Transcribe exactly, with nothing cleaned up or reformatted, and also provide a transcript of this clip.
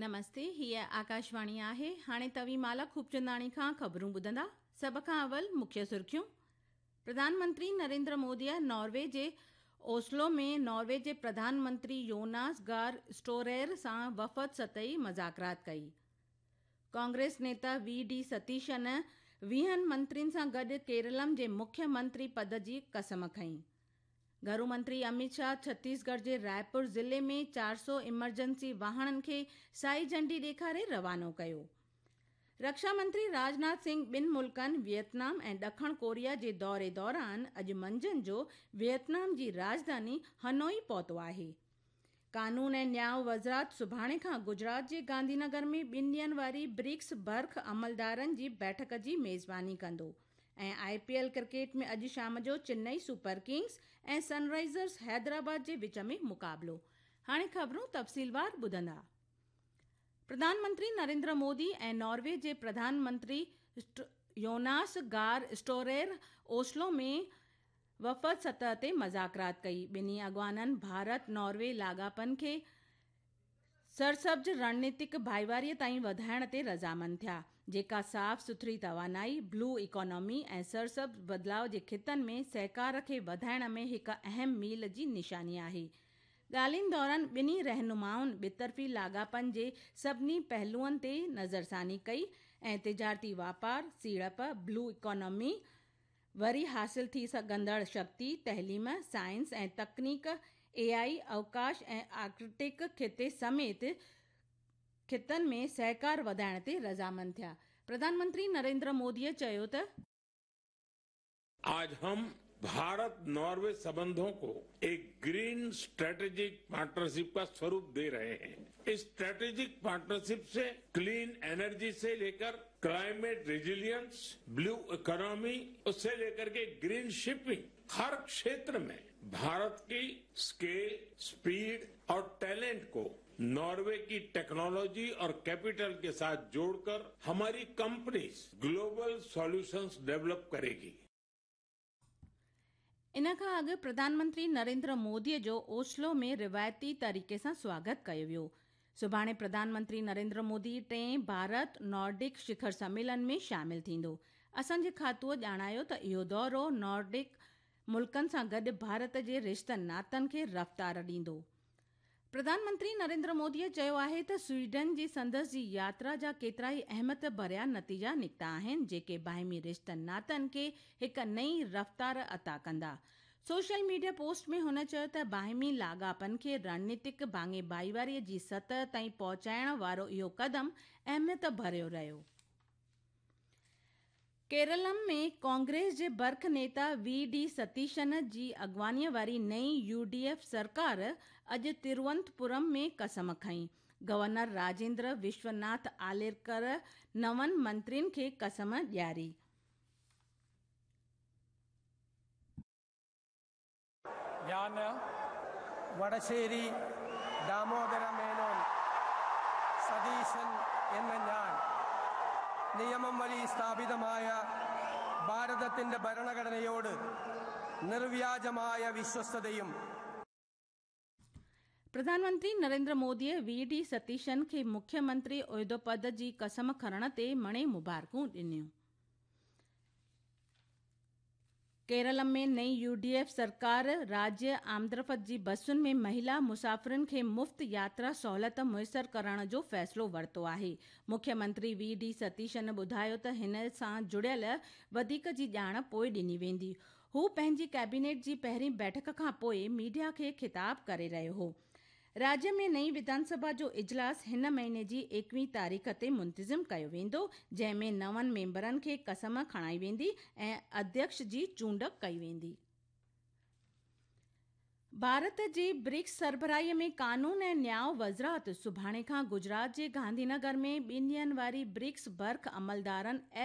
نمستي، هيءَ آڪاشواڻي آهي. هاڻي توهين مالا خوبچنداڻي کان خبرون ٻڌندا. سڀ کان اول مکيه سرخيون. پرڌان منتري نريندر موديءَ ناروي جي اوسلو ۾ ناروي جي پرڌان منتري يوناس گار اسٽورير سان وفد سطحي مذاڪرات ڪئي. ڪانگريس نيتا وي ڊي ستيشن ويهن منترين سان گڏ ڪيرلم جي مکيه منتري پد جي قسم کنئي. گهرو منتري امت شاهه ڇتيسڳڙهه جي رائپور ضلعي ۾ چار سؤ ايمرجنسي واهڻن کي سائي جهنڊي ڏيکاري روانو ڪيو. رڪشا منتري راجناٿ سنگهه ٻن ملڪن ويٽنام ۽ ڏکڻ ڪوريا جي دوري دوران اڄ منجهند جو ويٽنام جي راڄڌاني هنوئي پهتو آهي. قانون ۽ نياءُ وزارت سڀاڻي کان گجرات جي گانڌي نگر ۾ ٻن ڏينهن واري برڪس برک عملدارن جي بيٺڪ جي ميزباني ڪندو. ۽ I P L cricket ۾ اڄ شام جو چنئي سپر ڪنگز ۽ سن رائزرز حيدرآباد جي وچ ۾ مقابلو. هاڻي خبرون تفصيلوار ٻڌندا. پرڌان منتري نريندر مودي ۽ ناروي جي پرڌان منتري يوناس گار اسٽورير اوسلو ۾ وفد سطح تي مذاڪرات ڪئي. ٻنهي اڳواڻن ڀارت ناروي لاڳاپن کي سرسبز رڻنيتڪ ڀائيواريءَ تائين وڌائڻ تي رضامند ٿيا، جيڪا صاف سٿري توانائي، بلو اڪانامي ۽ سرسبز بدلاءُ جي خطن ۾ سهڪار کي وڌائڻ ۾ هڪ اهم ميل جي نشاني آهي. ڳالهين دوران ٻنهي رهنمائن ٻطرفي لاڳاپن جي سڀني پهلوئن تي نظرثاني ڪئي ۽ تجارتي واپار، سيڙپ، بلو اڪانامي، وري حاصل ٿي سگهندڙ شڪتي، تعليم، سائنس ۽ تڪنيڪ، اي آئي، اوڪاش ۽ آرڪٽڪ خطي سميت خطن ۾ سهڪار وڌائڻ تي رضامند ٿيا. پرڌان منتري نريندر موديءَ چيو ته आज हम भारत नॉर्वे संबंधों को एक ग्रीन स्ट्रेटेजिक पार्टनरशिप का स्वरूप दे रहे हैं। इस स्ट्रेटेजिक पार्टनरशिप से क्लीन एनर्जी से लेकर क्लाइमेट रेजिलियंस, ब्लू इकोनॉमी, उससे लेकर के ग्रीन शिपिंग, हर क्षेत्र में भारत की स्केल, स्पीड और टैलेंट को नॉर्वे की टेक्नोलॉजी और कैपिटल के साथ जोड़कर हमारी कंपनीज ग्लोबल सॉल्यूशंस डेवलप करेगी। इन खां अॻु प्रधानमंत्री नरेंद्र मोदीअ जो ओस्लो में रिवायती तरीक़े सां स्वागत कयो वियो। सुभाणे प्रधानमंत्री नरेंद्र मोदी टें भारत नॉर्डिक शिखर सम्मेलन में शामिल थींदो। असांजे खातूअ ॼाणायो त इहो दौरो नॉर्डिक मुल्कनि सां गॾु भारत जे रिश्तनि नातनि खे रफ़्तार ॾींदो। प्रधानमंत्री नरेंद्र मोदीअ चयो आहे त स्वीडन जी संदसि जी यात्रा जा केतिरा ई अहमियत भरिया नतीजा निकिता आहिनि, जेके बाहिमी रिश्तनि नातनि खे हिकु नई रफ़्तार अता कंदा। सोशल मीडिया पोस्ट में हुन चयो त बाहिमी लाॻापनि खे रणनीतिक भाङे भाईवारीअ जी सतह ताईं पहुचाइण वारो इहो क़दम अहमियत भरियो रहियो। केरलम में कांग्रेस जे बर्ख नेता वी डी सतीशन जी अॻवानीअ वारी नई यू डी एफ सरकार अॼु तिरुवनंतपुरम में कसम खई। गवर्नर राजेंद्र विश्वनाथ आलेरकर नवनि मंत्रियुनि खे कसम ॾियारी। ഞാൻ വടശ്ശേരി ദാമോദര മേനോൻ സതീശൻ എന്ന ഞാൻ നിയമം വഴി സ്ഥാപിതമായ ഭാരതത്തിന്റെ ഭരണഘടനയോട് നിർവ്യാജമായ വിശ്വസ്തതയും प्रधानमंत्री नरेंद्र मोदीअ वी डी सतीशन खे मुख्यमंत्री उहिदो पद जी कसम खणण ते मणे मुबारकूं ॾिनियूं। केरल में नई यू डी एफ सरकार राज्य आमदरफ़्त जी बसुनि में महिला मुसाफ़िरुनि खे मुफ़्त यात्रा सहूलियत मुयसर करण जो फ़ैसिलो वरितो आहे। मुख्यमंत्री वी डी सतीशन ॿुधायो त हिन सां जुड़ियल वधीक जी ॼाण पोइ ॾिनी वेंदी। हू पंहिंजी कैबिनेट जी पहिरीं बैठक खां पोइ मीडिया खे ख़िताब करे रहियो हो। राज्य में नई विधानसभा जो इजलास हिन महीने जी एकवीह तारीख़ ते मुंतज़िम कयो वेंदो, जंहिं में नवनि मेंबरनि खे कसम खणाई वेंदी ऐं अध्यक्ष जी चूंड कई वेंदी। भारत जी ब्रिक्स सरबराहीअ में कानून ऐं न्याय वज़ारत सुभाणे खां गुजरात जे गांधीनगर में ॿिनि ॾींहंनि वारी ब्रिक्स बर्ख अमलदारनि